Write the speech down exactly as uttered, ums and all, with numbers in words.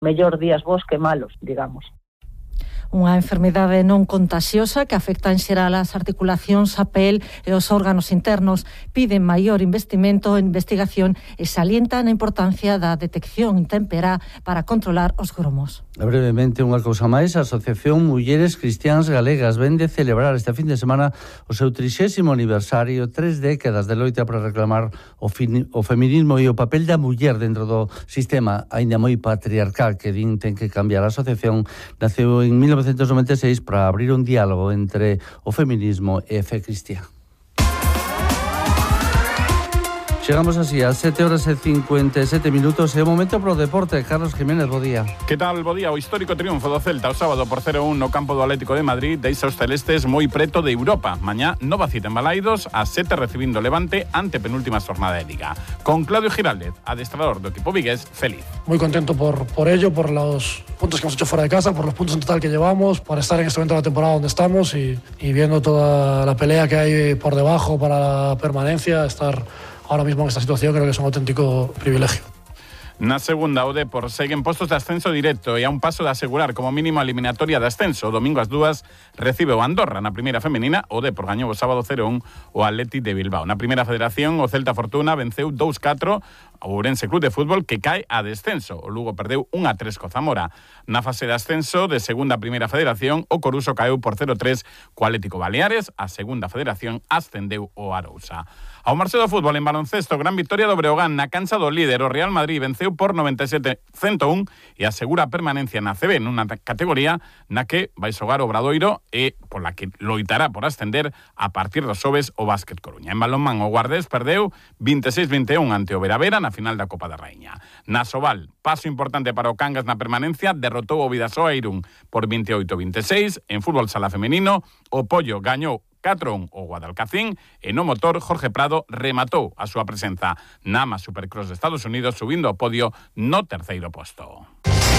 mellor días bons que malos, digamos. Unha enfermidade non contagiosa que afecta en xeral as articulacións, a pel e os órganos internos. Piden maior investimento en investigación e salientan a importancia da detección temperá para controlar os gromos. Brevemente, unha cousa máis, a Asociación Mulleres Cristiáns Galegas ven de celebrar este fin de semana o seu trixésimo aniversario, tres décadas de loita para reclamar o, fin, o feminismo e o papel da muller dentro do sistema aínda moi patriarcal que din ten que cambiar. A asociación naceu en mil novecentos noventa e seis para abrir un diálogo entre o feminismo e a fe cristiá. Chegamos así a sete horas e cincuenta e sete minutos e o momento pro deporte. Carlos Jiménez, bo día. Que tal, bo día? O histórico triunfo do Celta o sábado por cero a un no campo do Atlético de Madrid deixa os celestes moi preto de Europa. Mañá, nova cita en Balaidos, a sete recibindo Levante ante penúltima jornada de Liga. Con Claudio Giraldez, adestrador do equipo vigués, feliz. Muy contento por, por ello, por los puntos que hemos hecho fuera de casa, por los puntos en total que llevamos, por estar en este momento de la temporada donde estamos y, y viendo toda la pelea que hay por debajo para la permanencia, estar ahora mismo en esta situación creo que es un auténtico privilegio. Na segunda, o Depor segue en postos de ascenso directo e a un paso de asegurar como mínimo a eliminatoria de ascenso. O domingo ás dúas recibe o Andorra. Na primeira femenina, o Depor gañou o sábado cero a un o Athletic de Bilbao. Na primeira federación, o Celta Fortuna venceu dous a catro o Ourense Club de Fútbol que cae a descenso. O Lugo perdeu un a tres co Zamora. Na fase de ascenso de segunda a primeira federación, o Coruso caeu por cero a tres co Atlético Baleares. A segunda federación ascendeu o Arousa. Ao marxe do fútbol en baloncesto, gran victoria do Breogán na cancha do líder. O Real Madrid venceu por noventa e sete a ciento un e asegura a permanencia na C B nunha categoría na que vai xogar o Obradoiro e pola que loitará por ascender a partir dos xoves o Básquet Coruña. En balonmán, o Guardés perdeu vinte e seis a vinte e un ante o Veravera na final da Copa da Raíña. Na Sobal, paso importante para o Cangas na permanencia, derrotou o Vidasoa Irún por veintioito a vinte e seis. En fútbol sala femenino, o Pollo gañou catro a un o Guadalcacín e no motor Jorge Prado rematou a súa presenza na AMA Supercross de Estados Unidos subindo ao podio no terceiro posto.